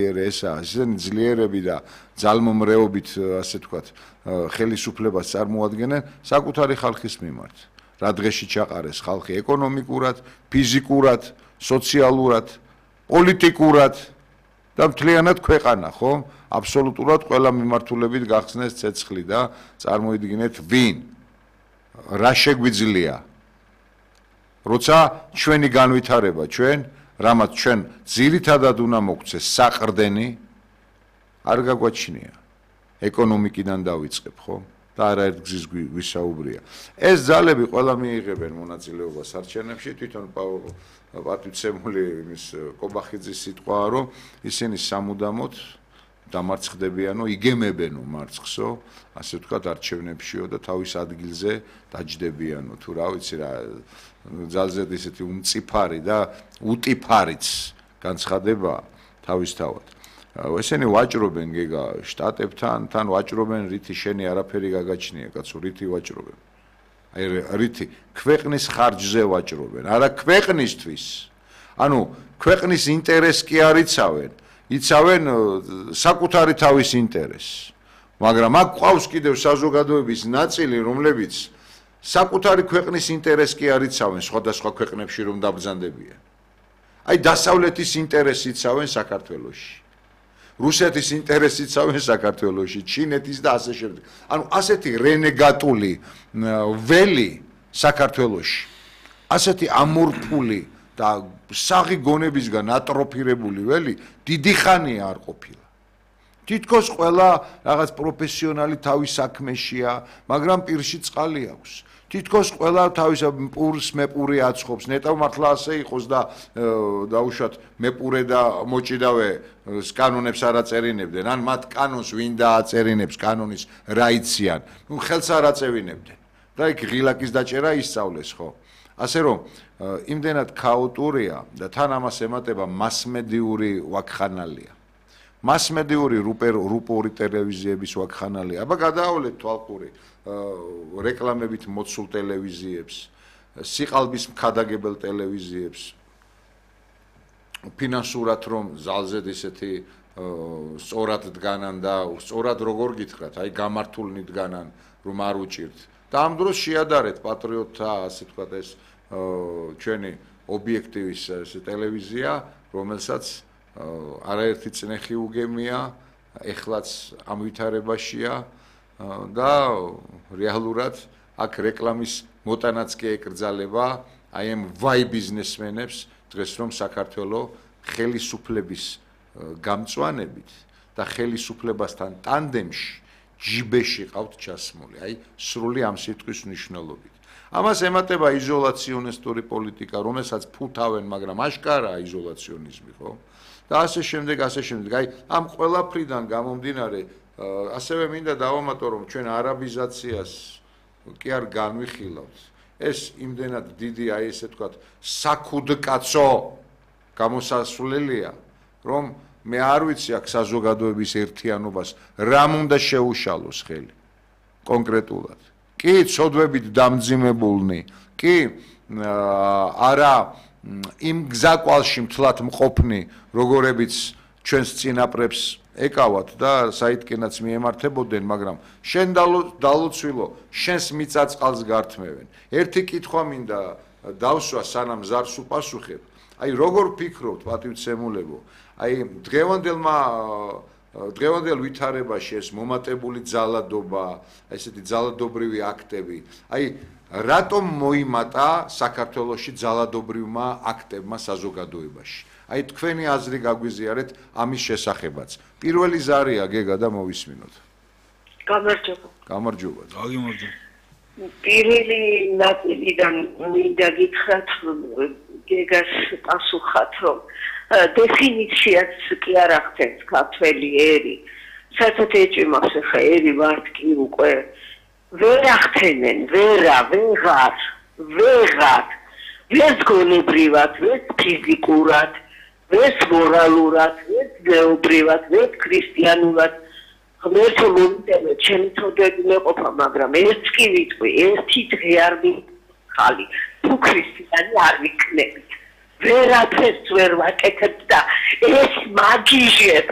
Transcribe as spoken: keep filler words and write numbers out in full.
ესაა, ისინი ძლიერები და ძალმომრეობით, ასე ვთქვათ, ხელისუფლებას წარმოადგენენ საკუთარი ხალხის მიმართ. რა დღეში ჩაყარეს ხალხი ეკონომიკურად, ფიზიკურად, სოციალურად, პოლიტიკურად და მთლიანად ქვეყანა, ხო? აბსოლუტურად ყველა მიმართულებით გახსნეს ცეცხლი და წარმოიდგინეთ ვინ რა შეგვიძლია. როცა ჩვენი განვითარება, ჩვენ რამაც ჩვენ ძირითადად უნდა მოგვცეს საყრდენი არ გაგვაჩნია. ეკონომიკიდან დავიწყებ, ხო? და არაერთ გზის გვისაუბრია. ეს ძალები ყველა მიიღებენ მონაწილეობას არჩევნებში, თვითონ პატივცემული იმის კობახიძის სიტყვაა, რომ ისინი სამუდამოდ დამარცხდებიანო, იგემებენო მარცხსო, ასე ვთქვათ, არჩევნებშიო და თავის ადგილზე დაჯდებიანო, თუ რა ვიცი რა, ძალზედ ისეთი უმწიფარი და უტიფარიც განცხადება თავისთავად. ესენი ვაჭრობენ გეგა შტატებთან, თან ვაჭრობენ რითი შენი არაფერი გაგაჩნია, კაცო, რითი ვაჭრობენ. აი რითი ქვეყნის ხარჯზე ვაჭრობენ, არა ქვეყნისთვის. ანუ ქვეყნის ინტერესს კი არ იცავენ, იცავენ საკუთარი თავის ინტერესს. მაგრამ აქ ყავს კიდევ საზოგადოების ნაწილი, რომლებიც საკუთარი ქვეყნის ინტერესს კი არ იცავენ სხვადასხვა ქვეყნებში რომ დაბრძანდებიან. აი დასავლეთის ინტერესს იცავენ საქართველოში. რუსეთის ინტერესს იცავენ საქართველოში, ჩინეთის და ასე შემდეგ. ანუ ასეთი რენეგატული ველი საქართველოში, ასეთი ამორფული და საღი გონებისგან ატროფირებული ველი დიდი ხანია არ ყოფილა. თითქოს ყველა რაღაც პროფესიონალი თავის საქმეშია, მაგრამ პირში წყალი აქვს. თითქოს ყველა თავის პურს მეპური აცხობს, ნეტავ მართლა ასე იყოს და დაუშვათ მეპურე და მოჭიდავე კანონებს არ აწერინებდნენ, ან მათ კანონს ვინ დააწერინებს, კანონის რა იციან, ნუ ხელს არ აწევინებდნენ. და იქ ღილაკის დაჭერა ისწავლეს, ხო? ასე რომ იმდენად ქაოტურია და თან ამას ემატება მასმედიური ვაკხანალია. მასმედიური რუპორი ტელევიზიების ვაკხანალია. აბა გადაავლეთ თვალყური რეკლამებით მოცულ ტელევიზიებს, სიყალბის მქადაგებელ ტელევიზიებს. ფინანსურად რომ ზალზედ ისეთი სწორად დგანან და სწორად როგორ გითხრათ, აი გამართულნი დგანან, რომ არ უჭირთ. და ამ დროს შეადარეთ პატრიოტთა, ასე ვთქვათ, ეს ჩვენი ობიექტივის ტელევიზია, რომელსაც არაერთი წნეხი უგემია, ეხლაც ამ ვითარებაშია და რეალურად აქ რეკლამის მოტანაც კი ეკრძალება აი ამ ვაი ბიზნესმენებს დღეს რომ საქართველოს ხელისუფლების გამწვანებით და ხელისუფლებასთან ტანდემში ჯიბეში ყავთ ჩასმული, აი სრული ამ სიტყვის მნიშვნელობით. ამას ემატება იზოლაციონისტური პოლიტიკა, რომელსაც ფუთავენ, მაგრამ აშკარაა იზოლაციონიზმი, ხო? და ასე შემდეგ, ასე შემდეგ. აი ამ ყველაფრიდან გამომდინარე, ასევე მინდა დავამატო, რომ ჩვენ არაბიზაციას კი არ განვიხილავთ. ეს იმდენად დიდი, აი ესე ვთქვათ, საქუდკაცო გამოსასვლელია, რომ მე არ ვიცი აქ საზოგადოების ერთიანობას რამ უნდა შეუშალოს ხელი კონკრეტულად. კი ცოდვებით დამძიმებულნი, კი არა იმ გზაკვალში მთლად მყოფნი, როგორებიც ჩვენს წინაპრებს ეკავათ და საითკენაც მიემართებოდნენ, მაგრამ შენ დალოცვილო, შენს მიწაწყალს გართმევენ. ერთი კითხვა მინდა დავსვა, სანამ ზარს უპასუხებ. აი როგორ ფიქრობთ, პატივცემულებო, აი დღევანდელმა დღევანდელ ვითარებაში ეს მომატებული ძალადობა, ესეთი ძალადობრივი აქტები, აი რატომ მოიმატა საქართველოში ძალადობრივმა აქტებმა საზოგადოებაში? აი თქვენი აზრი გაგვიზიარეთ ამის შესახებაც. პირველი ზარია გეგა და მოვისმინოთ. გამარჯობა. გამარჯობა. გამარჯობა. პირველი ნაწილიდან მინდა გითხრათ გეგას პასუხად, რომ დეფინიციაც კი არ ახდენს ქართველი ერი. საერთოდ ეჭვმავს ხა ერი ვართ კი უკვე ვერ ახდენენ, ვერა, ვეღარ, ვეღარ, ვერც გონებრივად, ვერც ფიზიკურად, ვერც მორალურად, ვერც გეობრივად, ვერც ქრისტიანულად. ღმერთო მომიტევე, ჩემი თოდები მეყოფა, მაგრამ ერთ კი ვიტყვი, ერთი დღე არ მიხალი, თუ ქრისტიანი არ ვიქნებით. ვერაფერს ვერ ვაკეთებ და ეს მაგიჟებს